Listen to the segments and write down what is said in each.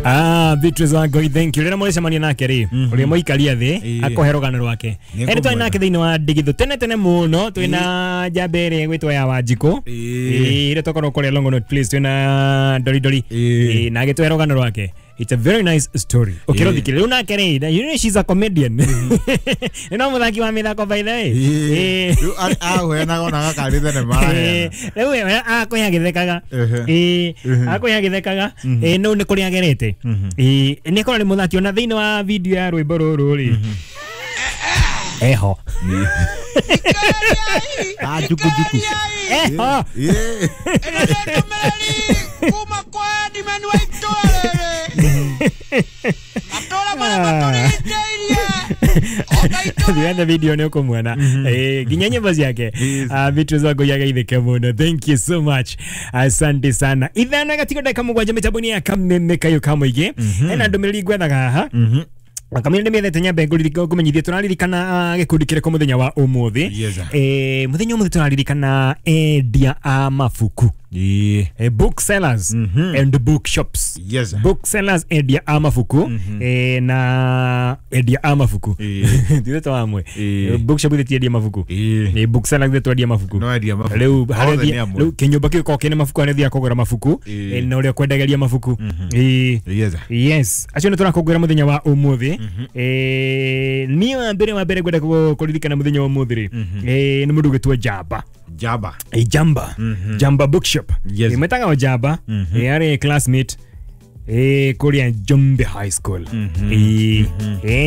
Ah, Beatrice Wangoi, thank you. Rĩrĩa mũrĩcemania nake rĩ, ũrĩa mũikaria thĩ akũhe rũgano rwake. Ĩndĩ twarĩ nake thĩinĩ wa ndigithũ tene tene mũno, twĩna njamba ĩrĩa ĩgwĩtwo ya Wanjikũ. Ĩĩ, ĩrĩa twakorwo kũrĩa Longonot Place twĩna Ndori Ndori. Ĩĩ, na agĩtũhe rũgano rwake. It's a very nice story. Ũkĩrũthikĩrĩria rĩu nake rĩ, you know she's a comedian. Nĩ no mũthaki wa mĩthako by the way. Ĩĩ. Rĩu aheanaga ona gakarĩ thenema araheana. Rĩu we akũhe agĩthekaga. Ĩĩ, akũhe agĩthekaga. Ĩĩ, no nĩ kũrĩa agerete. Ĩĩ, nĩ akorwo nĩ mũthaki ona thĩinĩ wa video ya rwĩmbo rũrũ rĩ. Eho. Ah, juku juku. Eho. Ĩĩ. Kuma kwa Edimeni wa itũra rĩrĩ matũra marĩa matũrigicĩirie ona itũra Thiĩ video nĩ ũkũmuona. Ĩĩ, nginya nyĩmbo ciake. Ah, Beatrice Wangui ageithĩke mũno. Thank you so much. Asante sana. Ithano gatigo ndagĩka mũgwanja mĩtambo-inĩ ya Kameme kayũ ka mũingĩ. Hena ndũmĩrĩri ngwethaga haha. Kamĩrĩ nĩ mĩethete nyambe ngũmenyithie tũraririkana gĩkundi kĩrĩkũ mũthenya wa ũmũthĩ. Yes, sir. Mũthenya ũmũthĩ tũraririkana endia a mabuku. Ĩĩ. Booksellers and bookshops. Yes, sir. Booksellers, endia a mabuku na endia a mabuku. Ithuĩ twa amwe. Bookshop ithuĩ ti endia mabuku. Booksellers ithuĩ twendia mabuku. No endia mabuku. Rĩu harĩa Othe nĩ ũthiĩ- amwe. rĩu kĩnyũmba kĩu gĩkoragwo kĩna mabuku harĩa ũthiaga kũgũra mabuku na ũrĩa ũkwendagĩria mabuku. Yes, sir. Yes, acio nĩ tũrakũngũĩra mũthenya wa ũmũthĩ. Niĩ wa mbere ngwenda kũririkana mũthenya wa ũmũthĩ rĩ, nĩ mũndũ ũgwĩtwo Jamba. Jamba. Jamba. Jamba Bookshop. Yes. Mwĩtaga o Jamba. Arĩ classmate kũrĩa Njombe High School.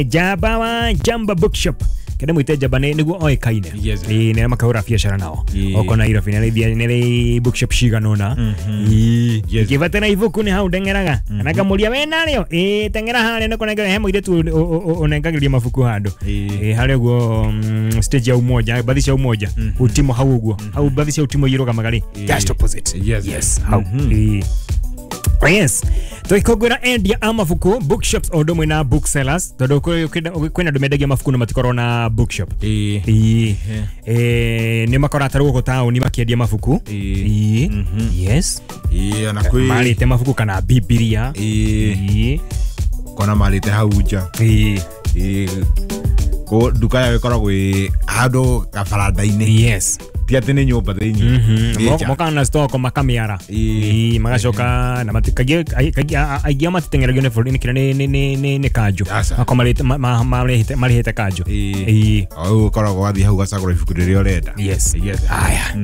Jamba wa Jamba Bookshop. Kenda mwĩte Jamba nĩguo oĩkaine. Yes. Nĩ makahũra biacara nao. Oko Nairobi nĩ nĩ bookshop cigana ũna. Yes. Ngĩbatara ibuku nĩ hau ndeng'eraga. Na ngamũria we narĩo. Teng'era harĩa nĩ kũnengera he mũirĩtu ũnengagĩria mabuku handũ. Harĩa ũguo stage ya Umoja, bathi cia Umoja. Utimo hau ũguo. Hau bathi cia Utimo irũgamaga rĩ. Just opposite. Yes. Yes, hau. Yes. Tũgĩkũngũĩra endia a mabuku, bookshops o ũndũ ũmwe na booksellers, tondũ kwĩna andũ mendagia mabuku na matikoragwo na bookshop. Ĩĩ. Ĩĩ. Nĩ makoraga ta gũkũ taũni makĩendia mabuku. Ĩĩ. Ĩĩ. Yes. Ĩĩ, ona kwĩ Marĩte mabuku kana Bibilia. Ĩĩ. Ĩĩ. Kona marĩte hau nja. Ĩĩ. Ĩĩ. Kũ nduka yao ĩkoragwo ĩ handũ gabaranda-inĩ. Yes. Ti atĩ nĩ nyũmba thĩinĩ. Nĩ nja. Mokaga na stock makamĩara. Ĩĩ. Ĩĩ, magacoka na kaingĩ aingĩ ao matiteng'eragio nĩ bũrũri nĩ kĩrĩa nĩ kanjũ. Aca. Makoragwo marĩhĩte kanjũ. Ĩĩ. Ĩĩ. O rĩu ũkoragwo wathiĩ hau ũgacagũra ibuku rĩrĩa ũrenda. Yes. Yes. Aya.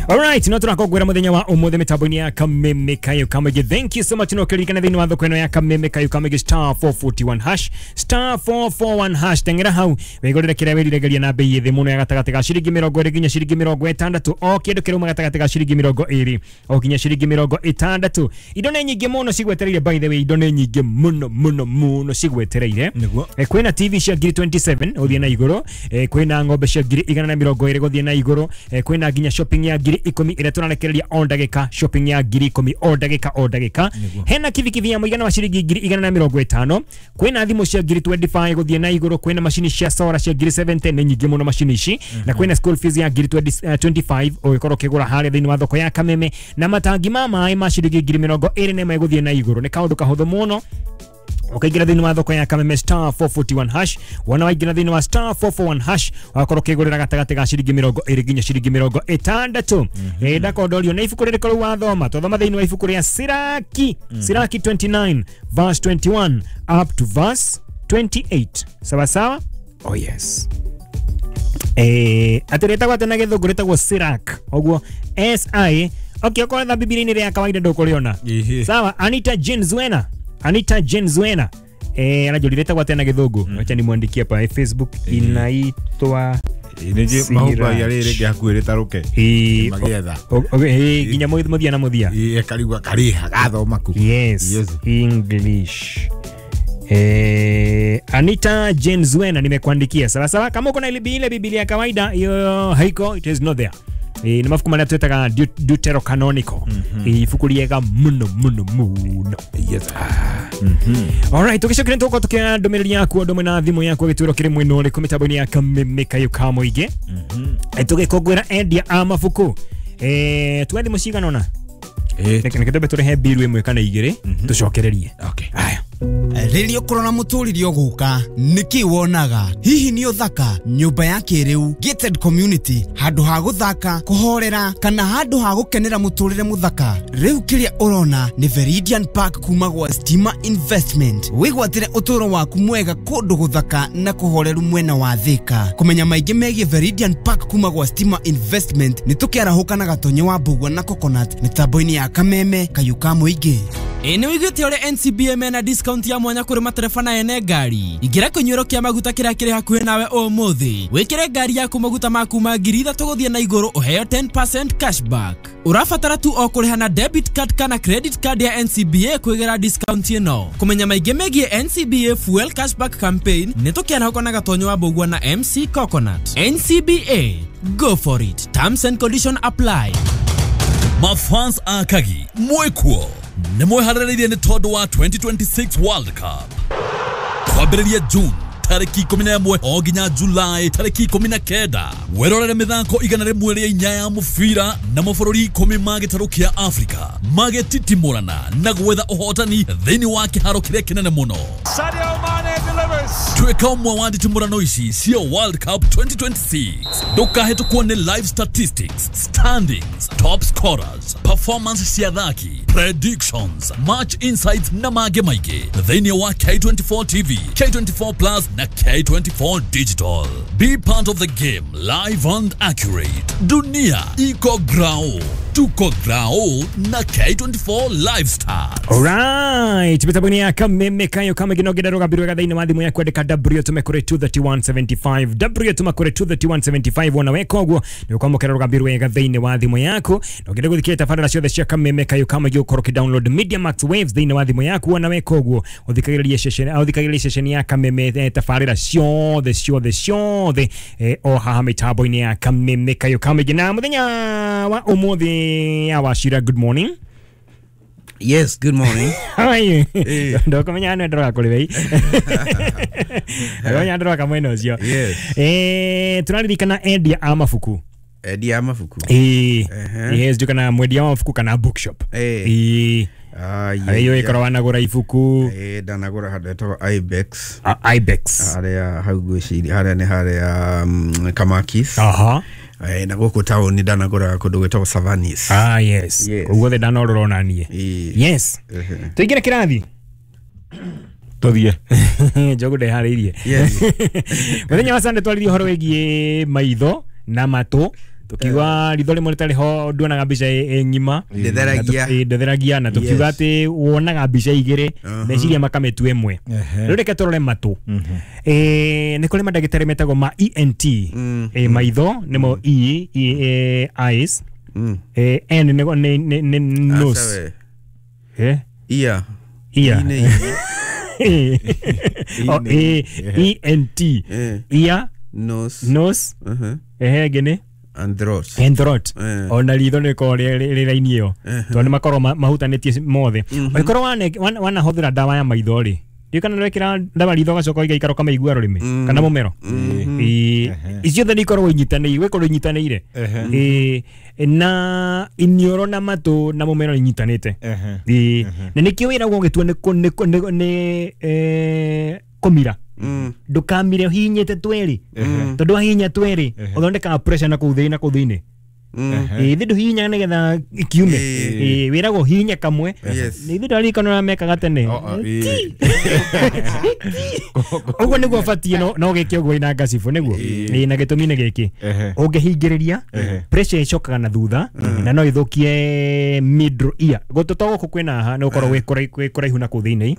Alright, no tũrakũngũĩra mũthenya wa ũmũthĩ mĩtambo-inĩ ya Kameme Kayũ Kamũingĩ. Thank you so much no kĩririkana thĩinĩ wa thoko ĩno ya Kameme Kayũ Kamũingĩ star 441 hash star 441 hash teng'era hau wĩgũrĩre kĩrĩa wĩriragĩria na bei ĩ thĩ mũno ya gatagatĩ ga ciringi 20 nginya ciringi 60 o kĩndũ kĩrauma gatagatĩ ga ciringi 20 o nginya ciringi 60. Indo nĩ nyingĩ mũno cigwetereire, by the way, indo nĩ nyingĩ mũno mũno mũno cigwetereire. Nĩguo. Kwĩna TV cia ngiri 27 gũthiĩ na igũrũ, kwĩna ng'ombe cia ngiri 120 gũthiĩ na igũrũ, kwĩna nginya shopping ya ngiri 10 ĩrĩa tũrarekereria o ndagĩka, shopping ya ngiri 10 o ndagĩka o ndagĩka. Hena kibikibi ya mũigana wa ciringi ngiri 150, kwĩna thimũ cia ngiri 25 gũthiĩ na igũrũ, kwĩna macini cia solar cia ngiri 70, nĩ nyingĩ mũno macini ici, na kwĩna school fees ya ngiri 25 ũgĩkorwo ũkĩgũra harĩa thĩinĩ wa thoko ya Kameme, na matangi ma maĩ ma ciringi ngiri 21 gũthiĩ na igũrũ. Nĩ kaũndũ kahũthũ mũno ũkaingĩra thĩinĩ wa thoko ya Kameme star 441 hash. Wona waingĩra thĩinĩ wa star 441 hash wakorwo ũkĩgũrĩra gatagatĩ ga ciringi 20 nginya ciringi 60. Ndakondorio nĩ ibuku rĩrĩkũ rĩu wathoma? Twathoma thĩinĩ wa ibuku rĩa Siraki. Siraki 29 verse 21 up to verse 28. Sawa sawa? Oh yes. Atĩ rĩtagwo atĩ na gĩthũngũ rĩtagwo Sirak ũguo SI. Okay, okorwo tha Bibilia-inĩ rĩa kawaida ndũkũrĩona. Ĩhĩ. Sawa, Anita Jane Zuena. Anita Jane Zuena. Anajua rĩtagwo atĩa na gĩthũngũ. Acha nimwandikie hapa Facebook inaitwa Ĩĩ, nĩ njĩ mahumbagia rĩrĩ rĩngĩ hakuhĩ rĩtarũke. Magĩetha. Nginya mũthia na mũthia. Ĩĩ, akarigwo karĩha gathoma ku. Yes. Yes. English. Anita Jane Zuena nimekuandikia. Sawa sawa, kama uko na ile Biblia ya kawaida hiyo haiko, it is not there. Nĩ mabuku marĩa twĩtaga Deuterocanonical. Ibuku rĩega mũno mũno mũno. Yes. Alright, tũgĩcokire tũgũkorwo tũkĩoya ndũmĩrĩri yaku o ndũmwe na thimũ yaku gĩtwĩro kĩrĩ mwena ũrĩkũ mĩtambo-inĩ ya Kameme Kayũ ka Mũingĩ. Tũgĩkũngũĩra endia a mabuku. Tuoe thimũ cigana ũna? Ĩĩ. Reke twambe tũrehe mbiru ĩmwe kana igĩrĩ tũcokererie. Okay. Aya. Rĩrĩa ũkũrora mũtũrĩre ũgũka nĩkĩ wonaga? Hihi nĩ ũthaka, nyũmba ya kĩrĩu, gated community, handũ ha gũthaka, kũhorera kana handũ ha gũkenera mũtũrĩre mũthaka? Rĩu kĩrĩa ũrona nĩ Veridian Park kuma gwa Stima Investment. Wĩgwatĩre ũtũũro waku mwega kũndũ gũthaka na kũhoreru mwena wa Thika. Kũmenya maingĩ megiĩ Veridian Park kuma gwa Stima Investment nĩ tũkĩarahũka na Gatonye wa Mbugua na Coconut mĩtambo-inĩ ya Kameme Kayũ ka Mũingĩ. Ĩ nĩ wĩiguĩte ũrĩa NCBA mena discount ya mwanya kũrĩ matereba na ene ngari? Ingĩra kĩnyuĩro kĩa maguta kĩrĩa kĩrĩ hakuhĩ nawe ũmũthĩ, wĩkĩre ngari yaku maguta ma kuma 3,000 gũthiĩ na igũrũ ũheo 10% cashback. Ũrabatara tu o kũrĩha na debit card kana credit card ya NCBA kwĩgĩra discount ĩno. Kũmenya maingĩ megiĩ NCBA Fuel Cashback Campaign nĩ tũkĩarahũka na Gatonyo wa Mbugua na MC Coconut. NCBA, go for it. Terms and condition apply. Mafans akagi mwekuo nĩ mweharĩrĩirie nĩ tondũ wa 2026 World Cup kwambĩrĩria June tarĩki 11 o nginya July tarĩki 19. Werorere mĩthako 104 ya mũbira na mabũrũri 10 ma gĩtarũ kĩa Afrika magĩtitimũrana na gwetha ũhotani thĩinĩ wa kĩharo kĩrĩa kĩnene mũno. Sadio Mane delivers. Tuĩka ũmwe wa nditimũrano ici cia World Cup 2026. Ndũkahĩtũkwo nĩ live statistics, standings, top scorers, performance cia athaki, predictions, match insights na mangĩ maingĩ thĩinĩ wa K24 TV, K24 Plus na K24 Digital. Be part of the game, live and accurate. Dunia iko grao, tuko grao na K24 Live Stars. Alright, mitambo-inĩ ya Kameme Kayo Kamũingĩ no ngĩenda rũgambi rwega thĩinĩ wa thimũ yaku andĩka W tũme kũrĩ 23175 W tũma kũrĩ 23175 wona weka ũguo nĩ ũkwamũkĩra rũgambi rwega thĩinĩ wa thimũ yaku. Na ũngĩenda gũthikĩrĩria tabarĩra ciothe cia Kameme Kayo Kamũingĩ ũkorwo ũkĩ download Media Max Waves thĩinĩ wa thimũ yaku wona weka ũguo ũthikagĩrĩrie ceceni ya Kameme tabarĩra ciothe ciothe ciothe o haha mĩtambo-inĩ ya Kameme Kayo Kamũingĩ. Na mũthenya wa ũmũthĩ ya Wachira, good morning. Yes, good morning. How are you? Ndokumenya nĩ ndroga kũrĩ wei. Ndokumenya ndroga mwena ũcio. Yes. Tũraririkana endia a mabuku. Endia a mabuku. Yes, ndio kana mwendia wa mabuku kana bookshop. Ayo ikorwo wanagũra ibuku. Ndanagũra handũ hetagwo Ibex. Ibex. Harĩa hau ngwĩciria harĩa nĩ harĩa Kamakis. Aha. Na gũkũ taũni ndanagũra kũndũ gwĩtagwo Savanis. Ah, yes. Koguo the ndanorora ona niĩ. Yes. Tũingĩre kĩrathi. Tũthiĩ. Njogu ndeharĩirie. Yes. Mũthenya wa Sunday twaririe ũhoro wĩgiĩ maitho na matũ. Tukiuga ritho rĩmwe rĩtarĩ ho nduonaga mbica ĩ ng'ima. Ndĩtheragia. Ndĩtheragia na tukiuga atĩ wonaga mbica igĩrĩ meciria makamĩtua ĩmwe. Rĩu reke tũrore matũ. Nĩ kũrĩ mandagĩtarĩ metagwo ma ENT. Maitho nĩmo E, eyes. N nĩ nose. Ear. Ear. E N T. Ear. Nose. Nose. Ngĩnĩ And throat. And throat. Ona ritho nĩ rĩkoragwo rĩ raini ĩyo tondũ nĩ makoragwo mahutanĩtie mothe. Ũngĩkorwo wanahũthĩra ndawa ya maitho rĩ, ndiũĩ kana nĩwekĩra ndawa ritho ũgacoka ũgaikara ũkamaigua rũrĩmĩ kana mũmero. Icio othe nĩ ikoragwo inyitanĩire, gwĩkorwo inyitanĩire. Na iniũrũ na matũ na mũmero inyitanĩte. Na nĩkĩo wĩragwo ũgĩtua nĩ kũmira. Ndũkamire ũhihinyĩte twĩrĩ tondũ wahihinya twĩrĩ ũthondekaga pressure na kũu thĩinĩ na kũu thĩinĩ. Ithe ndũhihinyaga nĩgetha kiume, wĩragwo ũhihinye kamwe. Ithe ndwaririkana ũrĩa mekaga tene. Ũguo nĩguo ũbatiĩ no gĩke ũguo ina ngacibũ nĩguo. Na gĩtũmi nĩ gĩkĩ, ũngĩhingĩrĩria pressure ĩcokaga na thutha na no ĩthũkie middle ear. Gũtũ to gũkũ kwĩna haha nĩ gũkorwo gwĩ kũraihu na kũu thĩinĩ.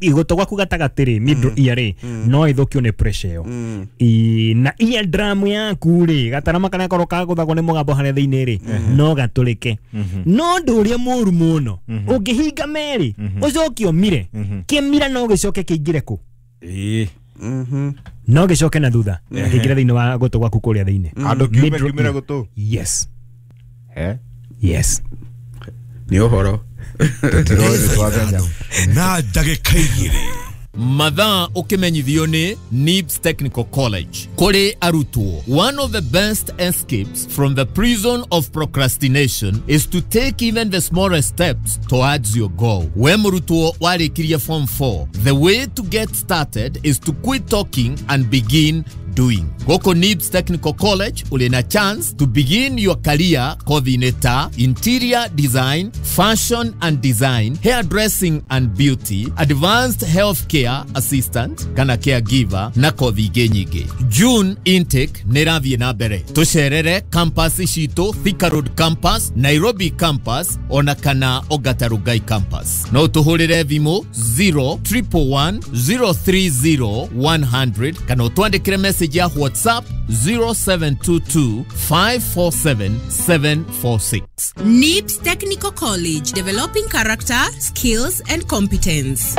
Igũtũ gwaku gatagatĩ rĩ, middle ear rĩ, no ĩthũkio nĩ pressure ĩyo. Na ear drum yaku rĩ, gatarama karĩa gakoragwo kagũthagwo nĩ mũgambo harĩa thĩinĩ rĩ, no gatũrĩke. No ũndũ ũrĩa mũru mũno, ũngĩhinga merĩ, ũcoke ũmire, kĩmira no gĩcoke kĩingĩre kũ? No gĩcoke na thutha, kĩingĩre thĩinĩ wa gũtũ gwaku kũrĩa thĩinĩ. Andũ kiume kiumĩre gũtũ. Yes. Yes. Nĩ ũhoro. Na ndagĩka igĩrĩ. Mathaa ũkĩmenyithio nĩ NIBS Technical College. Kũrĩ arutwo, one of the best escapes from the prison of procrastination is to take even the smallest steps towards your goal. We mũrutwo warĩkirie form 4, the way to get started is to quit talking and begin doing. Gũkũ NIBS Technical College ũrĩ na chance to begin your career kothi-inĩ ta interior design, fashion and design, hairdressing and beauty, advanced healthcare assistant kana caregiver na kothi ingĩ nyingĩ. June intake nĩ ĩrathiĩ na mbere. Tũcerere campus citũ Thika Road campus, Nairobi campus ona kana Ongata Rongai campus. No tũhũrĩre thimũ 0111 030 100 kana ũtwandĩkĩre message ya WhatsApp 0722 547 746. NIBS Technical College, developing character, skills, and competence.